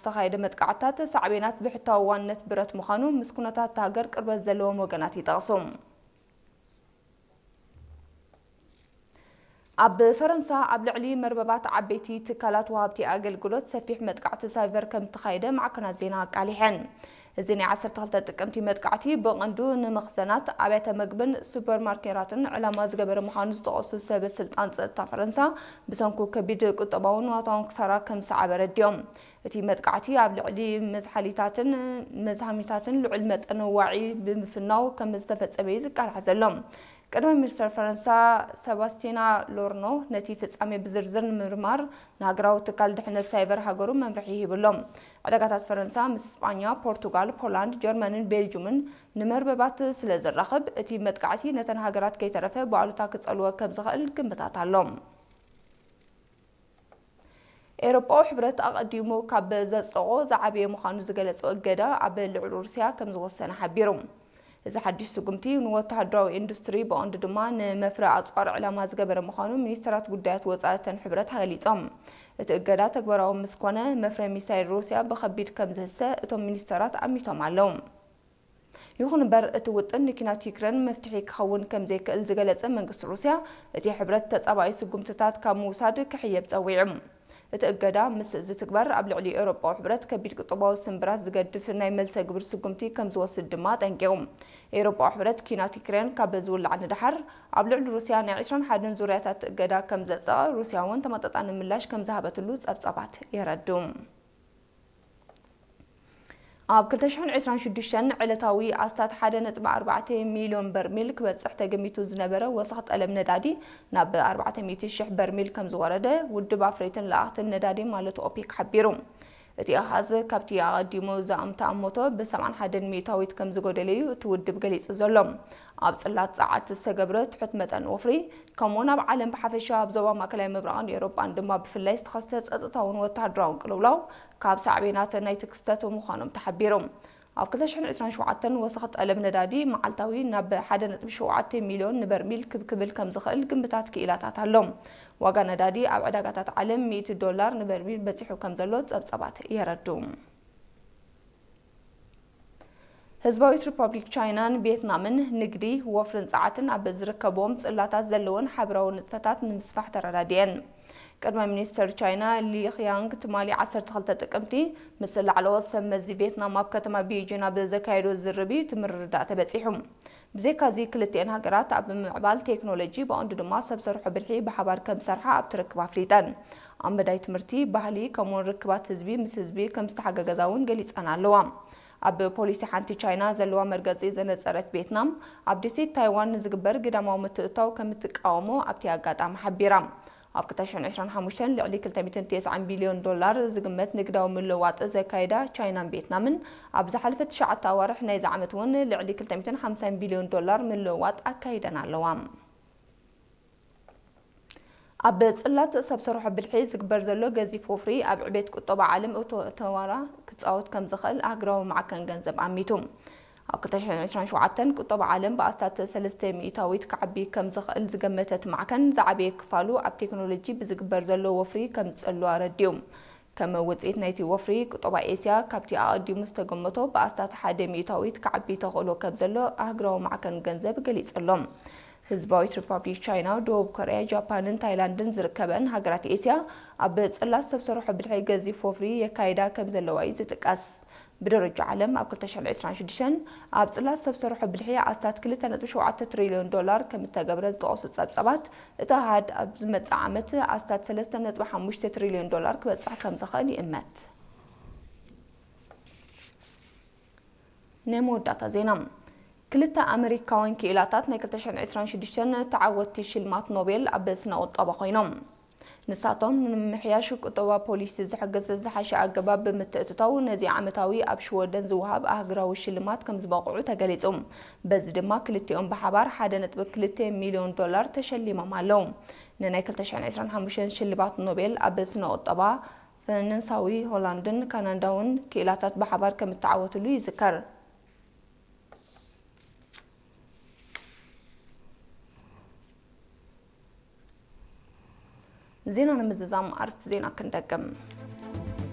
ዝተኻየደ መጥቃዕትታት ሳዕቤናት ብሕታዊ ዋንነት ብረት ምዃኑ ምስ ኩነታት እታ ሃገር ቅርበት ዘለዎም ወገናት ይጠቕሱ። ኣብ ፈረንሳ ኣብ ልዕሊ መርበባት ዓበይቲ ትካላት ወሃብቲ ኣገልግሎት ሰፊሕ መጥቃዕቲ ሳይበር ከም እተኻየደ ማዕከናት ዜና ኣቃሊሐን። እዚ ናይ ዓሰርተ ክልተ ጥቅምቲ መጥቃዕቲ ብቐንዱ ንመኽዘናት፣ ኣብያተ መግብን ሱፐርማርኬታትን ዕላማ ዝገበረ ምዃኑ ዝጠቐሱ ሰበ ስልጣን ጸጥታ ፈረንሳ፣ ብሰንኩ ከቢድ ቁጠባውን ንዋታውን ክሳራ ከም ዝሰዓበ ኣረዲኦም። እቲ መጥቃዕቲ ኣብ ልዕሊ መዝሓሊታትን መዝሃሚታትን ልዑል መጠን ዋዒ ብምፍናው ከም ዝተፈጸመ እዩ ዝቃላሕ ዘሎ። ቀዳማይ ሚኒስተር ፈረንሳ ሰባስቲና ሎርኖ ነቲ ፍጻሜ ብዝርዝር ንምርማር ንሃገራዊ ትካል ድሕነት ሳይበር ሃገሩ መምርሒ ሂቡ ኣሎ። ዕዳጋታት ፈረንሳ ምስ ስጳኛ፣ ፖርቱጋል፣ ፖላንድ፣ ጀርመንን ቤልጁምን ንመርበባት ስለ ዘራኽብ፣ እቲ መጥቃዕቲ ነተን ሃገራት ከይተረፈ ብኣሉታ ክጸልወ ከም ዝኽእል ግምታት ኣሎ። ኤውሮጳዊ ሕብረት ኣቐዲሙ ካብ ዘጽደቖ ዝዓበየ ምዃኑ ዝገለጾ እገዳ ኣብ ልዕሊ ሩስያ ከም ዝወሰነ ሓቢሩ። እዚ ሓድሽ ስጉምቲ ንወተሃደራዊ ኢንዱስትሪ ብቐንዱ ድማ ንመፍረ ኣጽዋር ዕላማ ዝገበረ ምዃኑ ሚኒስተራት ጉዳያት ወጻኢ እተን ሕብረት ገሊጾም። እቲ እገዳ ተግባራዊ ምስ ኮነ መፍረ ሚሳይል ሩስያ ብኸቢድ ከም ዝህሰ እቶም ሚኒስተራት ኣሚቶም ኣለዉ። ይኹን እምበር እቲ ውጥን ንኪናት ዩክሬን መፍትሒ ክኸውን ከም ዘይክእል ዝገለጸ መንግስቲ ሩስያ፣ እቲ ሕብረት ተጻባኢ ስጉምትታት ካብ ምውሳድ ክሕየብ ጸዊዑ። እቲ እገዳ ምስ ዝትግበር ኣብ ልዕሊ ኤውሮጳዊ ሕብረት ከቢድ ቁጠባዊ ስንብራት ዝገድፍ ናይ መልሰ ግብር ስጉምቲ ከም ዝወስድ ድማ ኣጠንቂቑ። ኤውሮጳዊ ሕብረት ኪናት ዩክሬን ካብ ዝውላዕ ንደሓር ኣብ ልዕሊ ሩስያ ናይ ዕስራን ሓደን ዙርያታት እገዳ ከም ዘጽደቐ፣ ሩስያ እውን ተመጣጣኒ ምላሽ ከም ዝሃበትሉ ጸብጻባት የረድኡ። ኣብ ክልተ ሽሕን ዕስራን ሽዱሽተን ዕለታዊ ኣስታት ሓደ ነጥቢ ኣርባዕተ ሚልዮን በርሚል ክበጽሕ ተገሚቱ ዝነበረ ወሰኽ ጠለብ ነዳዲ ናብ ኣርባዕተ ሚእቲ ሽሕ በርሚል ከም ዝወረደ ውድብ ኣፍረይትን ለኣኽትን ነዳዲ ማለት ኦፔክ ሓቢሩ። እቲ ኣሃዝ ካብቲ ኣቐዲሙ ዝኣምተኣመቶ ብ ሰብዓን ሓደን ሚእታዊት ከም ዝጎደለ እዩ እቲ ውድብ ገሊጹ ዘሎ። ኣብ ጽላት ጸዓት ዝተገብረ ትሑት መጠን ወፍሪ፣ ከምኡውን ኣብ ዓለም ብሓፈሻ ኣብ ዞባ ማእከላይ ምብራቕን ኤውሮጳን ድማ ብፍላይ ዝተኸስተ ጸጥታውን ወተሃደራውን ቅልውላው ካብ ሳዕቤናት ናይቲ ክስተት ምዃኖም ተሓቢሩ። ኣብ ክልተ ሽሕን ዕስራን ሸውዓተን ወሰኽ ጠለብ ነዳዲ መዓልታዊ ናብ ሓደ ነጥቢ ሸውዓተ ሚልዮን ንበርሚል ክብ ክብል ከም ዝኽእል ግምታት ክኢላታት ኣሎ። ዋጋ ነዳዲ ኣብ ዕዳጋታት ዓለም ሚእቲ ዶላር ንበርሚል በጺሑ ከም ዘሎ ጸብጻባት የረድኡ። ህዝባዊት ሪፐብሊክ ቻይናን ቪየትናምን ንግዲ፣ ወፍርን ጸዓትን ኣብ ዝርከብዎም ጽላታት ዘለወን ሓበራዊ ንጥፈታት ንምስፋሕ ተረዳዲኤን። ቀዳማይ ሚኒስተር ቻይና ሊ ኺያንግ ትማሊ ዓሰርተ ክልተ ጥቅምቲ ምስ ላዕለዎት ሰብ መዚ ቪየትናም ኣብ ከተማ ቤጂን ኣብ ዘካየዶ ዝርርብ እዩ እቲ ምርድዳእ ተበጺሑ። ብዘይካዚ ክልቲኤን ሃገራት ኣብ ምምዕባል ቴክኖሎጂ ብቐንዱ ድማ ሰብ ሰርሖ ብልሒ ብሓባር ከም ዝሰርሓ ኣብቲ ርክብ ኣፍሊጠን። ኣብ መዳይ ትምህርቲ፣ ባህሊ ከምኡውን ርክባት ህዝቢ ምስ ህዝቢ ከም ዝተሓጋገዛ እውን ገሊጸን ኣለዋ። ኣብ ፖሊሲ ሓንቲ ቻይና ዘለዋ መርገጺ ዘነጸረት ቪየትናም፣ ኣብ ደሴት ታይዋን ንዝግበር ግዳማዊ ምትእትታው ከም እትቃወሞ ኣብቲ ኣጋጣሚ ሓቢራ። ኣብ ክልተ ሽሕን ዕስራን ሓሙሽተን ልዕሊ ክልተ ሚእትን ተስዓን ቢልዮን ዶላር ዝግመት ንግዳዊ ምልውዋጥ ዘካየዳ ቻይናን ቪየትናምን፣ ኣብ ዝሓለፈ ትሽዓተ ኣዋርሕ ናይዚ ዓመት እውን ልዕሊ ክልተ ሚእትን ሓምሳን ቢልዮን ዶላር ምልውዋጥ ኣካይደን ኣለዋ። ኣብ ጽላት ሰብ ሰርሖ ብልሒ ዝግበር ዘሎ ገዚፍ ወፍሪ ኣብ ዕቤት ቁጠባ ዓለም እቶ-፣ ተዋራ ክጻወት ከም ዝኽእል ኣህጉራዊ ማዕከን ገንዘብ ኣሚቱ። ኣብ ክልተ ሽሕን ዕስራን ሸውዓተን ቁጠባ ዓለም ብኣስታት ሰለስተ ሚእታዊት ክዓቢ ከም ዝኽእል ዝገመተ እቲ ማዕከን፣ ዝዓበየ ክፋሉ ኣብ ቴክኖሎጂ ብዝግበር ዘሎ ወፍሪ ከም ዝጸሉ ኣረዲኡ። ከም ውጽኢት ናይቲ ወፍሪ፣ ቁጠባ ኤስያ ካብቲ ኣቐዲሙ ዝተገመቶ ብኣስታት ሓደ ሚእታዊት ክዓቢ ተኽእሎ ከም ዘሎ ኣህጉራዊ ማዕከን ገንዘብ ገሊጹ ኣሎ። ህዝባዊት ሪፓብሊክ ቻይና፣ ደቡብ ኮርያ፣ ጃፓንን ታይላንድን ዝርከበን ሃገራት ኤስያ ኣብ ጽላት ሰብ ሰርሖ ብልሒ ገዚፍ ወፍሪ የካይዳ ከም ዘለዋ እዩ ዝጥቀስ። ብደረጃ ዓለም ኣብ ክልተ ሽሕን ዕስራን ሽዱሽተን ኣብ ጽላት ሰብ ሰርሖ ብልሒ ኣስታት ክልተ ነጥቢ ሸውዓተ ትሪልዮን ዶላር ከም እተገብረ ዝጠቐሱ ጸብጻባት፣ እቲ ኣሃድ ኣብ ዝመጽእ ዓመት ኣስታት ሰለስተ ነጥቢ ሓሙሽተ ትሪልዮን ዶላር ክበጽሕ ከም ዝኽእል ይእመት። ናይ መወዳእታ ዜና። ክልተ ኣመሪካውያን ክኢላታት ናይ ክልተ ሽሕን ዕስራን ሽዱሽተን ተዓወትቲ ሽልማት ኖቤል ኣብ ስነ ቁጠባ ኮይኖም። ንሳቶም ንምምሕያሽ ቁጠባ ፖሊሲ ዝሕግዝ ዝሓሸ ኣገባብ ብምትእትታው ነዚ ዓመታዊ ኣብ ሽወደን ዝወሃብ ኣህጉራዊ ሽልማት ከም ዝበቕዑ ተገሊጹ። በዚ ድማ ክልቲኦም ብሓባር ሓደ ነጥቢ ክልተ ሚልዮን ዶላር ተሸሊሞም ኣለዉ። ንናይ ክልተ ሽሕን ዕስራን ሓሙሽተን ሽልማት ኖቤል ኣብ ስነ ቁጠባ ፈረንሳዊ፣ ሆላንድን ካናዳውን ክኢላታት ብሓባር ከም እተዓወትሉ ይዝከር። ዜና ንምዝዛም ኣርእስቲ ዜና ክንደግም።